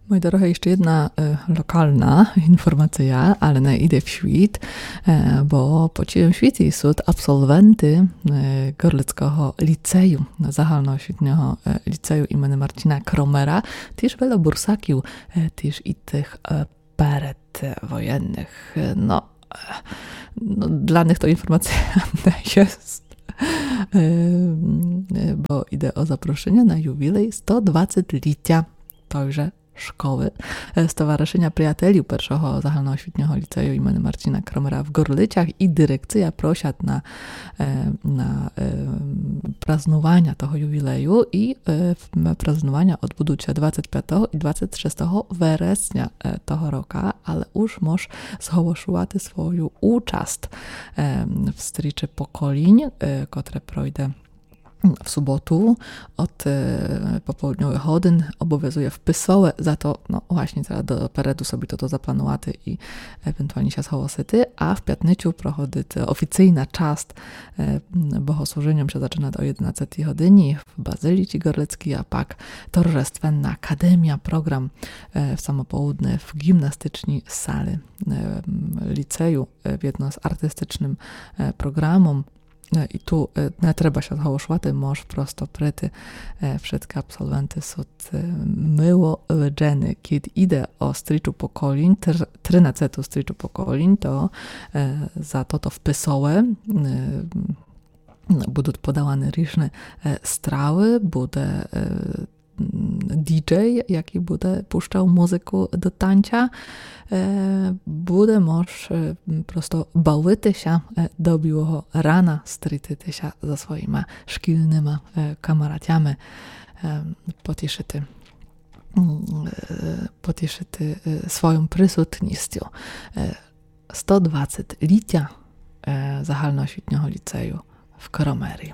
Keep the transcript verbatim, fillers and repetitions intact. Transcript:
Мої дорогы, іщы єдна е, локална інформация, але не іде в світ, е, бо по цілым світі сут абсолвенты е, Горлицького ліцею, загальноосвітнього е, ліцею імені Марціна Кромера, тіж вело бурсаків, е, тіж і тых е, передвоєнных. Е, Но, е, но, для них то інформация не єст. Е, е, Бо іде о запрошыня на ювілей сто двадцет літя тойже школы, е, Стоварышыня Приятелів Першого загальноосвітнього ліцею імені Марціна Кромера в Горлицях і дирекция просят на, е, на е, празнуваня того ювілею і е, в- празнуваня одбудут ся двадцет пятого і двадцет шестого вересня е, того рока, але уж мож зголошувати свою участ е, в стрічы поколінь, е, котре пройде в суботу од е, пополудньовых годин, обовязує вписове, за то, но, власні треба допереду собі тото запланувати і евентуалні ся зголосити, а в пятницю проходит офіцийна част е, богослужыня ся зачынат о єдинадцятій годині в Базиліці Горлицкій, а пак торжественна академія, програм е, в самополудне в ґімнастичній сали е, ліцею, е, єдно з артистичным е, програмом. Е, І ту е, не треба ся зголошувати, мож просто прийти. Е, Вшыткы абсолвенты сут е, мило виджены. Кідь іде о стрічу поколінь, тр- тринадцяту стрічу поколінь, то е, за тото вписове е, будут подаваны ріжны е, стравы, буде е, м, діджей, якій буде пущал музыку до танця. Е, Буде мож е, м, просто бавити ся е, до білого рана, стрітити ся за своїма шкільныма е, камаратями, е, потішыти, м, е, потішыти е, своюм присутністю. Е, сто двадцет літя е, загальноосвітнього ліцею в Кромері.